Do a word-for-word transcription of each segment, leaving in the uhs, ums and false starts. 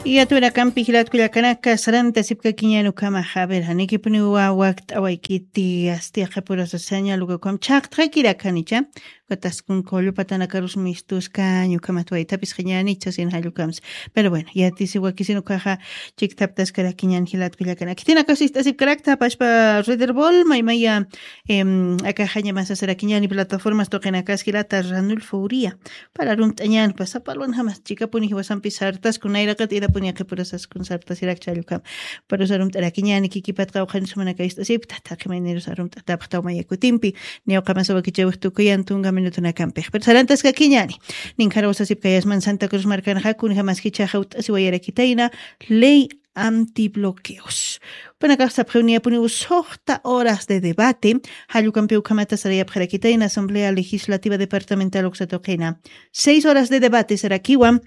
Yaturakampi jilatkullakanaka sarantasipkakiñan ukhamaxa. A ver, janikipuniwa wakt'awaykiti, asti aqhapurasa señal uka ukham chhaqtxakirakanicha. Ukataskun qullu patanakarus mistuskañ ukhamat waytapis qiñanicha sin jallukams. Pero bueno, yatisi wakisin ukaxa chikthaptaskarakiñan jilatkullakanaka. Khitinakasist'asipkarakta pashpa Rederbol maymaya, em, akaxaña masasarakiñani plataformas tuqinakas jilata Ranulfo Uría. Para rumt'añan, pasapalwan jamas chikapuni jiwasampi sartasku nayraqat irapuni aqipurasaskun sartasirakcha jallukam. Parusa rumt'arakiñani kikipatqa uqhanis jumanaka ist'asipkta, taqi maynirusa rumt'atapxtaw maya kutimpi, niya uqamasa wakichawix tukuyan tunka minutunakampix. Pero sarantaskakiñani, ninkhara usasipkayasman Santa Cruz markanxa, kunjamas jichhaxa ut'asiwayarakitayna, ley antibloqueos. Panakax sapxiw niyapuniw suxta horas de debate, jallukampi ukhamata sarayapxarakitayna Asamblea Legislativa Departamental uksa tuqina. Seis horas de debate sarakiwa,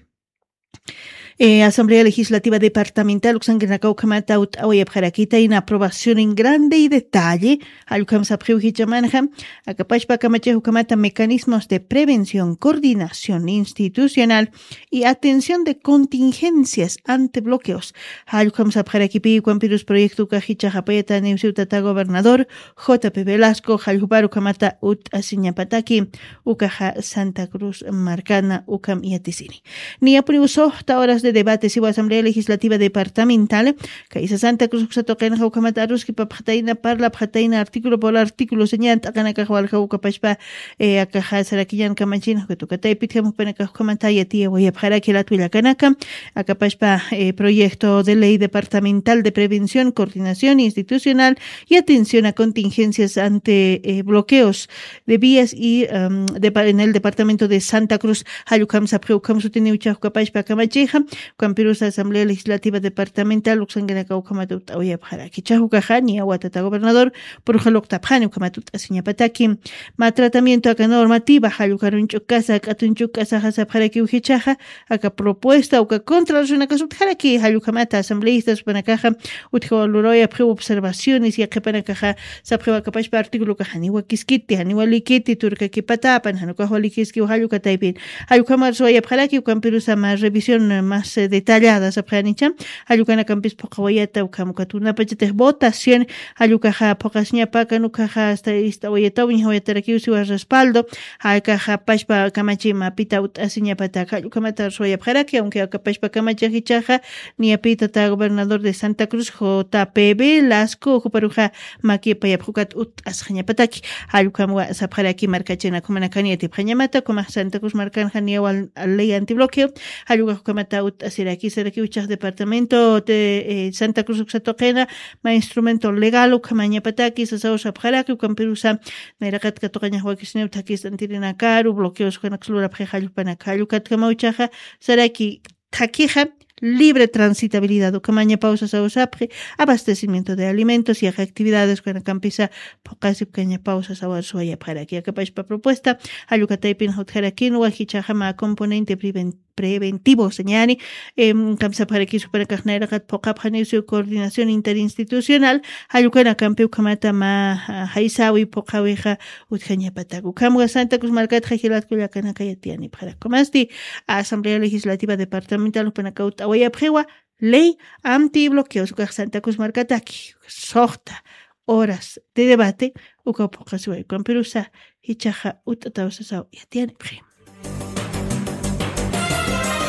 eh, Asamblea Legislativa Departamental uksankinaka ukhamata ut'awayapxarakitayna aprobación en grande y detalle, jallukam sapxiw jichhamanxa, akapashpa kamachix ukhamata mecanismos de prevención, coordinación institucional y atención de contingencias ante bloqueos. Jallukam sapxarakipi ukampirus proyecto ukax jichhax apayataniw siw tata gobernador J P Velasco, jallukpar ukhamata ut'asiñapataki, ukaxa Santa Cruz markana ukham yatisini. Niyapuniw suxta horas de debate siwa Asamblea Legislativa Departamental, kaysa Santa Cruz uksa tuqinxa ukhamata aruskipapxatayna, parlapxatayna, artículo por artículo, señan t'aqanakax waljaw ukapashpa, eh, akaxa sarakiñan kamachin, ukat ukataypit jam jupanakax ukhamata yatiyawayapxaraki jilatkullakanaka, akapashpa, eh, proyecto de ley departamental de prevención, coordinación institucional y atención a contingencias ante, eh, bloqueos de vías y, em, de pa-, en el departamento de Santa Cruz, jallukam sapxi ukham sutiniw chhaqkapashpa kamachixa, ukampirusa Asamblea Legislativa Departamental uksankinaka ukhamat ut'awayapxaraki. Chhaqkaxa niya wata tata gobernador purxaluqtapxani ukhamat ut'asiñapataki. Mä tratamiento aka normativa, jallukarunch'ukasa, k'atunch'ukasaxa sapxarakiw jichhaxa, aka propuesta uka contra rusunakasutjaraki, jallukhamata asambleístas panakaxa utjawa lurawayapxiw observaciones, yaqhipanakaxa sapxiw akapashpa artículo ukax janiwa kiskiti, janiwa likiti, turkakipatapan, janukaxwa likiskiw jallukataypin. Jallukhamar suwayapxaraki, ukampirusa mä revisión más, eh, detallada sapxanicha, jallukanakampis phuqawayata, ukham ukat unapachatix votación, jallukaxa phuqasiñapakan ukaxa hasta ist'awayataw, ñajawayatarakiw siwa respaldo, jakaxa pashpa kamachi mapita ut'asiñapataka, jallukhamata suwayapxaraki, aunque akapashpa kamachi jichhaxa, niyapï tata gobernador de Santa Cruz, J P Velasco, juparuxa makipayapxukat ut'asxañapataki, jallukhamwa sapxaraki markachinak jumanakan yatipxañamata, ukhamax Santa Cruz markanxa niyawa ley antibloqueo, jallukax ukhamata ut'asiraki, sarakiw jichhax departamento de, eh, Santa Cruz uksa tuqina, mä instrumento legal ukhamañapataki sasaw sapxaraki, ukampirusa nayraqat katuqañax wakisniw thakhistantirinakaru, bloqueos ukanaks lurapxi jallupanaka, jallukatjamaw jichhaxa, saraki thakhixa, libre transitabilidad ukhamañapaw sasaw sapxi, abastecimiento de alimentos, yaqha actividades ukanakampisa phuqasipkañapaw sasawar suwayapxaraki. Akapashpa propuesta, jallukataypin jutjarakinwa jichhaxa mä componente preven-, preventivo, señani, em, kamsapxaraki jupanakax nayraqat phuqapxaniw siw coordinación interinstitucional, jallukanakampi ukhamata mä, ah, jaysawi phuqawixa utjañapatak. Ukhamwa Santa Cruz markatxa jilatkullakanaka yatiyanipxarakmasti, Asamblea Legislativa Departamental jupanaka ut'awayapxiwa, ley antibloqueos ukax Santa Cruz markataki, suxta horas de debate, ukaw phuqasiway, ukampirusa jichhaxa ut'ataw sasaw yatiyanipxi.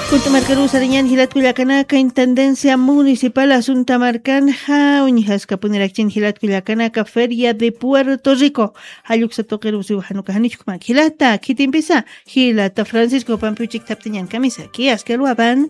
Kunt'u markaruw sarañan jilatkullakanaka, Intendencia Municipal Asunta markanxa uñjaskapunirakchin jilatkullakanaka Feria de Puerto Rico, jalluksa tuqiruw siw jan uka janichkman jilata, khitimpisa, jilata Francisco pampi uchikthaptañan kamisaki, aski alwapan.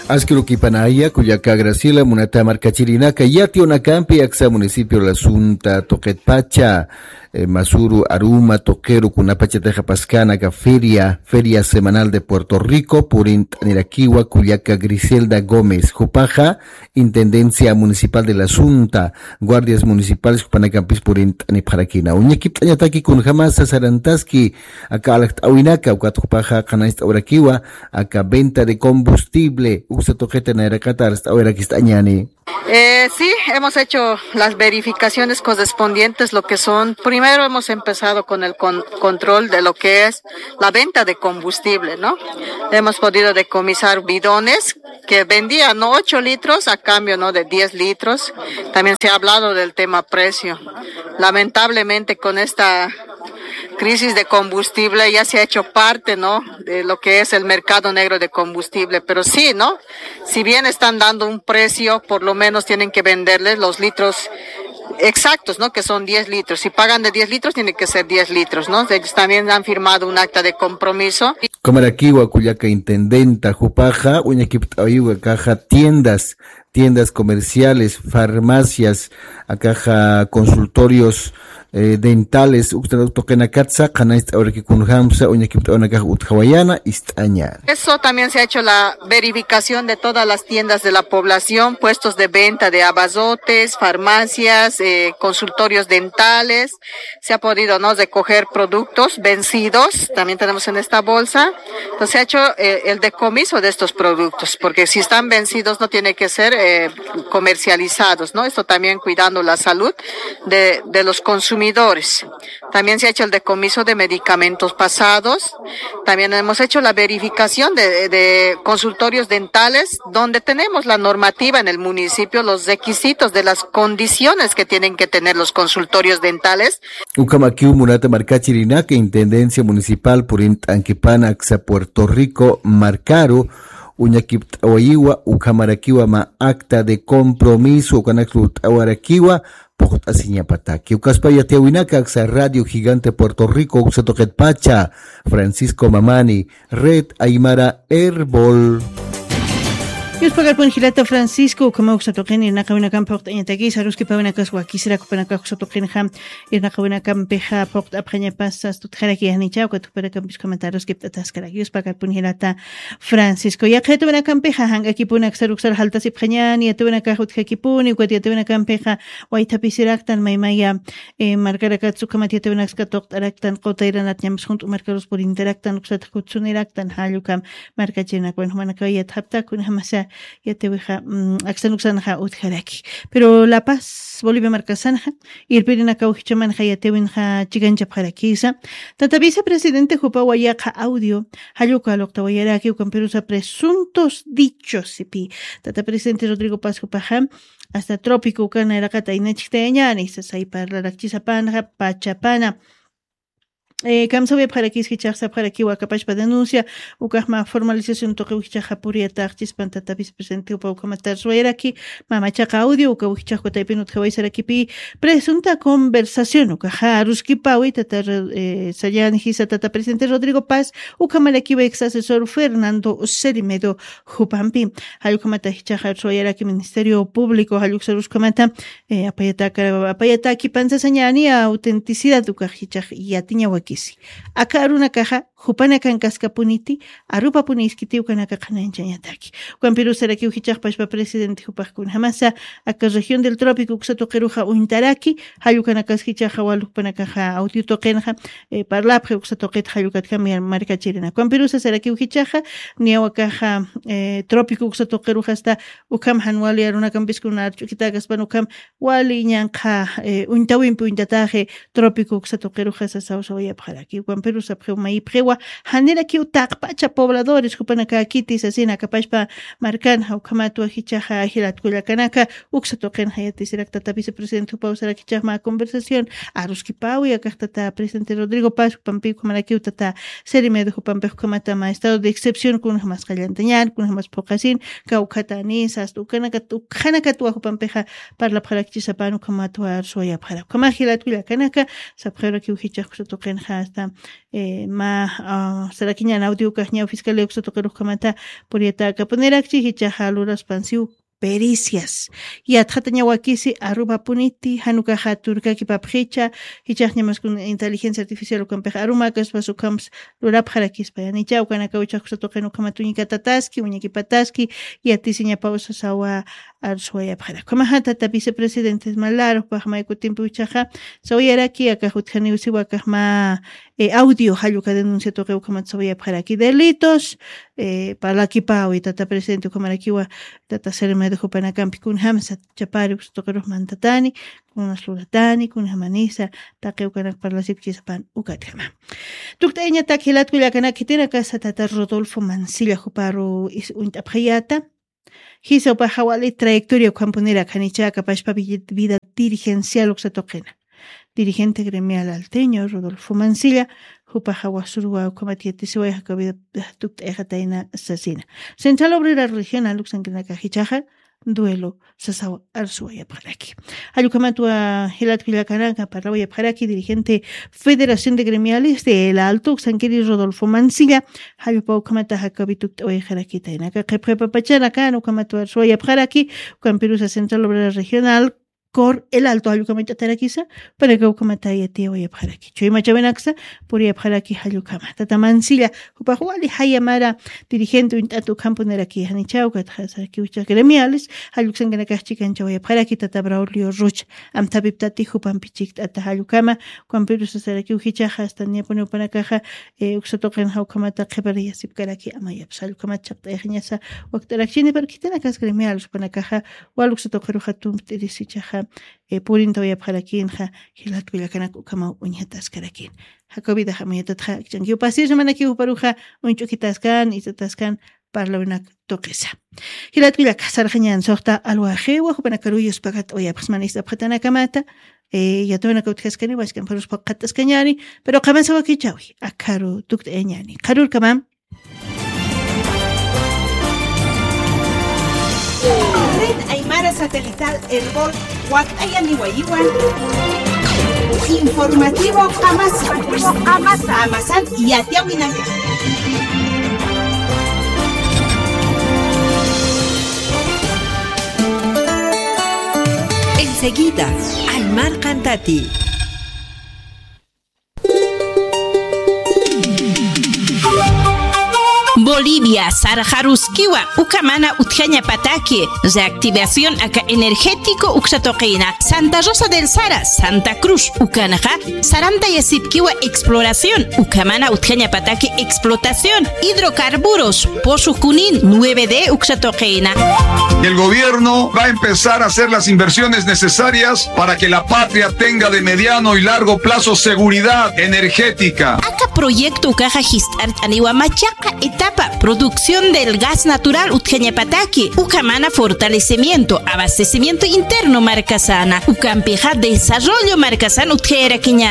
Aski arukipanaya, kullaka Graciela, munata markachirinaka, yatiyunakampi aksa municipio La Asunta tuqitpacha, eh, masuru aruma tuqiru kunapachatixa paskäna aka feria, Feria Semanal de Puerto Rico, purint'anirakiwa kullaka Griselda Gómez, jupaxa Intendencia Municipal de La Asunta, guardias municipales jupanakampis purint'anipxarakina. Uñakipt'añataki kunjamasa sarantaski aka alakt'äwinaka, ukat jupaxa qhanañcht'awirakiwa aka venta de combustible uksa tuqita nayraqata alakt'äwirakist'añani. Eh, sí, hemos hecho las verificaciones correspondientes, lo que son, primero hemos empezado con el con- control de lo que es la venta de combustible, ¿no? Hemos podido decomisar bidones que vendían, ¿no? Ocho litros a cambio, ¿no? De diez litros. También se ha hablado del tema precio. Lamentablemente con esta crisis de combustible ya se ha hecho parte, ¿no? De lo que es el mercado negro de combustible, pero sí, ¿no? Si bien están dando un precio, por lo menos tienen que venderles los litros exactos, ¿no? Que son diez litros. Si pagan de diez litros, tiene que ser diez litros, ¿no? Ellos también han firmado un acta de compromiso. Kamarakiwa kullaka intendenta jupaxa, uñakipt'awiwa kaxa tiendas, tiendas comerciales, farmacias, akaxa consultorios eh, dentales, uktan tuqinakatsa, qhanañcht'awarakikunjamsa, uñakipt'awanakax utjawayana, ist'aña. Eso también se ha hecho la verificación de todas las tiendas de la población, puestos de venta de abarrotes, farmacias, eh, consultorios dentales. Se ha podido, ¿no? Recoger productos vencidos, también tenemos en esta bolsa. Entonces se ha hecho eh, el decomiso de estos productos, porque si están vencidos no tiene que ser eh, comercializados, ¿no? Esto también cuidando la salud de, de los consumidores. También se ha hecho el decomiso de medicamentos pasados. También hemos hecho la verificación de, de consultorios dentales, donde tenemos la normativa en el municipio, los requisitos de las condiciones que tienen que tener los consultorios dentales. Ukhamakiw munata markachirinaka Intendencia Municipal purint'ankipana aksa Puerto Rico markaru, uñakipt'awayiwa ukhamarakiwa mä acta de compromiso ukanak lurt'awarakiwa puqt'asiñapataki. Ukaspa yatiyawinaka aksa Radio Gigante Puerto Rico uksa tuqitpacha, Francisco Mamani, Red Aymara Erbol. Yuspakarpun jilata Francisco, ukhama uksa tuqin irnaqawinakampi phuqt'añatakisa, aruskipawinakas wakisirak jupanakax uksa tuqinxa irnaqawinakampixa phuqt'apxañapas sas tutjaraki janicha, ukat jupanakampis ukhamata aruskipt'ataskaraki. Yuspakarpun jilata Francisco. Yaqha yatawinakampixa jank'akipuni aksar uksar jaltasipxañäni, yatawinakax utjakipuni, ukat yatawinakampixa waythapisiraktan maymaya, eh, markarakatsa ukhamat yatawinaksa katuqt'araktan, qutayranat ñamas junt'u markarus purintaraktan, uksat jutsuniraktan, jall ukham markachirinakwan jumanakaw yatxapta, kunjamasa yatiwixa, mm, aksan uksanxa utjaraki. Pero La Paz, Bolivia markasanxa, irpirinakaw jichhamanxa yatiwinxa chikanchapxarakisa. Tata vicepresidente jupawa yaqha audio, jall uka luqtawayaraki, ukampirusa presuntos dichos, sipi. Tata presidente Rodrigo Paz jupaxa, hasta trópico uka nayraqat aynachktayañäni, sasay parlarakchisapanxa, pachapana. Eh, kamsawayapxarakis jichhax sapxarakiwa akapachpa denuncia, ukaxma formalización tuqiw jichhaxa puriyataxchispan tata vicepresidente jupa ukhamata arswayaraki, mamachaqa audio, ukaw jichhax kutaypin utjaway sarakipi, presunta conversación, ukaxa aruskipawi tata, eh, sayan jisa tata presidente Rodrigo Paz, ukhamarakiwa ex asesor Fernando Cerimedo jupampi. Jall ukhamata jichhaxa arswayaraki Ministerio Público, jall uksarus ukhamata, eh, apayataka, apayatakipan sasañäni autenticidad ukax jichhax yatiñawakisi. Aka arunakaxa, jupanakankaskapuniti, arupapuni iskiti ukanaka qhanañchañataki. Ukampirusarakiw jichhax pachpa presidente jupax kunjamasa, aka región del trópico uksa tuqiruxa uñtaraki, jall ukanakas jichhaxa wal jupanakaxa audio tuqinxa, eh, parlapxi uksa tuqit jall ukatjam markachirina. Ukampirusa sarakiw jichhaxa, niyaw akaxa, eh, trópico uksa tuqiruxa hasta ukham jan wali arunakampis kuna arch'ukitäkaspan ukham wali ñanqha, eh, uñtawimpi uñtataxi trópico uksa tuqiruxa sasawsawayapxaraki. Ukampirusa sapxiw mayipxiwa, janirakiw taqpacha pobladores jupanakäkiti sasina akapachpa markanxa ukhamatwa jichhaxa jilat kullakanaka, uksa tuqinxa yatisirak tata vicepresidente jupaw sarak jichhax mä conversación, aruskipawi akax tata presidente Rodrigo Paz jupampi ukhamarakiw tata Cerimedo jupampix ukhamata mä estado de excepción kunjamas qallantañän, kunjamas phuqasin, kawkhatani, sasta ukanakat, ukhanakatwa jupampixa parlapxarakchisapan ukhamatwa arswayapxarak. Ukhamax jilat kullakanaka, sapxirakiw jichhax uksa tuqinxa hasta, eh, mä, ah, sarakiñän audio ukax ñaw fiscalía uksa tuqirux ukhamata puriyatäkapunirakchi, jichhaxa luraspansiw pericias. Yatxatañawakisi arupapuniti, jan ukaxa turkakipapxicha, jichhax ñamas kun inteligencia artificial ukampix arumäkaspas ukhams lurapxarakispa. Yanicha ukanakaw jichhax uksa tuqin ukhamat uñikatataski, uñakipataski, yatisiñapaw sasawa arswayapxarak. Ukhamaxa tata vicepresidente Malarux pax may kutimpi jichhaxa sawayaraki, akax utjaniw siwa akax mä eh, audio, jall uka denuncia tuqi ukhamat sawayapxaraki delitos, eh, parlakipawi tata presidente ukhamarakiwa, tata Sermedo jupanakampi kunjamsa chapari uksa tuqirux mantatani, kunas luratani, kunjamanisa, taqi ukanak parlasipkisapan ukatjama. Tukt'ayañatak jilat kullakanak khitinakasa tata Rodolfo Mancilla juparu is uñt'apxayata, jisa upaxa wali trayectoria ukhampunira khanicha kapashpa vi-, vida dirigencial uksa tuqina. Dirigente gremial alteño Rodolfo Mancilla, jupaxa wasuruwa ukhamat yatisiway jaka vida tukt'ayxatayna sasina. Central Obrera Regional uksankinakax jichhaxa duelo sasaw arsuwayapxaraki. Jall ukhamatwa jilat kullakanaka parlawayapxaraki dirigente Federación de Gremiales de El Alto uksankiri Rodolfo Mancilla, jall upa ukhamata jakawi tukt'awayxarakitayna. Aka qhipqipapachanaka ukhamatwa arsuwayapxaraki, ukampirusa Central Obrera Regional, COR El Alto jall ukhamat t'atarakisa, panaka ukhamata yatiyawayapxaraki. Chuymachawinaksa puriyapxaraki jall ukhama. Tata Mancilla, jupax wali jaya mara dirigente uñt'at ukhampuniraki janichaw, katxasarakiw jichhax gremiales, jall uksankanakax chikanchawayapxaraki, tata Braulio Rocha, amthapiptati jupampi chikt'ata jall ukhama, ukampirusa sarakiw jichhaxa, hasta niyapuni upanakaxa, eh, uksa tuqinxa ukhamata qhipariyasipkaraki amayapsa, jall ukhamat chaqt'ayxañasa wakt'arakchini, pero khitinakas gremiales upanakaxa, wal uksa tuqiruxa tumpt'irisi jichhaxa, eh, purintawayapxarakinxa, jilat kullakanak ukhamaw uñjataskarakin. Jakaw vidax amayatatxa, akch'ankiw pasirsa manakiw juparuxa, uñch'ukitaskan, ist'ataskan, parlawinak tuqisa. Jilat kullaka sarxañän suxta alwaxiwa, jupanakaruw yuspakat'awayapxsmani ist'apxatanakamata, eh, yatawinakaw utjaskani, wask'amparus phuqhatt'askañäni, pero qamasa wakichäwi, akharu tukt'ayañäni. Qharürkamam. Red Aymara Satelital Erbol, wakt'ayaniwayiwan. Informativo Qamasa. Qamasa. Qamasan yatiyawinaka. Enseguida, Aymar Qantati. Bolivia sarxaruskiwa, uka mana utjañapataki, reactivación aka energético uksa tuqina, Santa Rosa del Sara, Santa Cruz, ukanxa, sarantayasipkiwa exploración, uka mana utjañapataki explotación, hidrocarburos, Pozo Junín, nueve D uksa tuqina. El gobierno va a empezar a hacer las inversiones necesarias para que la patria tenga de mediano y largo plazo seguridad energética. Aka proyecto ukaxa jist'art'aniwa machaqa etapa, producción del gas natural utjañapataki, uka mana fortalecimiento, abastecimiento interno markasana, ukampixa desarrollo markasan utjayarakiña.